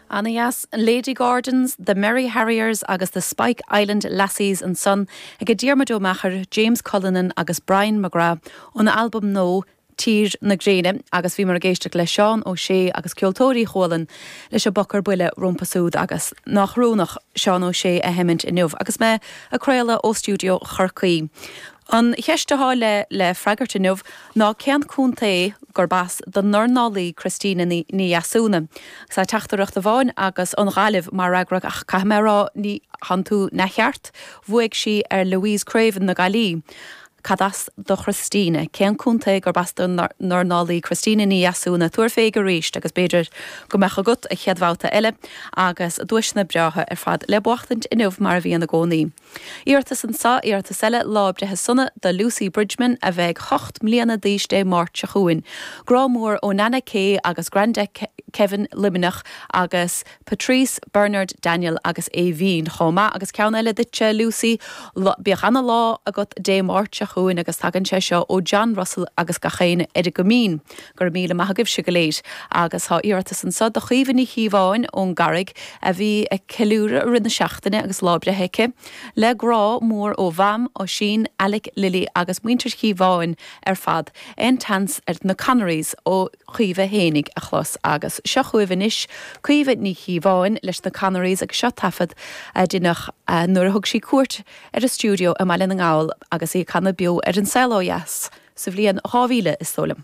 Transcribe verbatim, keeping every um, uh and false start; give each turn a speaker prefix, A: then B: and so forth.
A: Ana dheas Lady Gordons, The Merry Harriers agus the Spike Island Lassies ansan ag Diarmuid Ó Meachair, James Cullinan agus Brian McGrath ón albam nua Tír na Gréine agus bhíomar ag éisteacht le Seán Ó Sé agus Ceoltóirí Chualann leis an bPoc ar Buile rompu siúd agus nach rúnach Seán Ó Sé a sheimint inniu agus mé ag craoladh ó stiúideo Chorcaí. An cheist atá le le freagairt inniu ná cén contae gurb as don dornálaí Christina Ní Dheasúna. Sa teachtaireacht amháin agus an Ghaillimh mar fhreagra ach caithfidh mé rá ní tánn tú neamhcheart, bhuaigh sí ar Louise Craven na Gaillimhe. Cad as do Christina, cén contae gurb as don dornálaí Christina Ní Dheasúna tabhair fé arís agus b'fhéidir go mbeadh agat an chéad bhabhta eile agus duaiseanna breátha ar fad le buachtaint inniu mar a bhíonn i gcónaí. Iarratas anseo iarratas eile lá breithe sona do Lucy Bridgman a bheidh ocht mbliana d'aois Dé Máirt seo chugainn. Grá mór ó Nana Kay agus Granda Kevin Luimneach agus Patrice Bernard Daniel agus Aoibhín chomh maith agus ceann eile duitse Lucy bíodh ana-lá agat Dé Máirt seo chugainn agus tagann sé seo ó John Russell agus gach éinne ar an gCoimín gur míle maith agaibhse go léir agus tá iarratas anseo do Chaoimhe Ní Chíobháin ón gCarraig a bhí ag ceiliúradh i rith na seachtaine agus lá breithe aici, le grá mór ó Mham Oisín Alec Lily agus muintir Chíobháin ar fad Aon tSeans ar na Connerys ó Chaoimhe fhéinig a chlos agus seo chugaibh anois Caoimhe Ní Chíobháin leis na Connerys agus seo taifead a deineadh nuair a thug sí cuairt ar an stiúideo i mBaile na nGall agus í ag canadh beo ar An Saol Ó Dheas sa bhliain dhá mhíle is dóigh liom.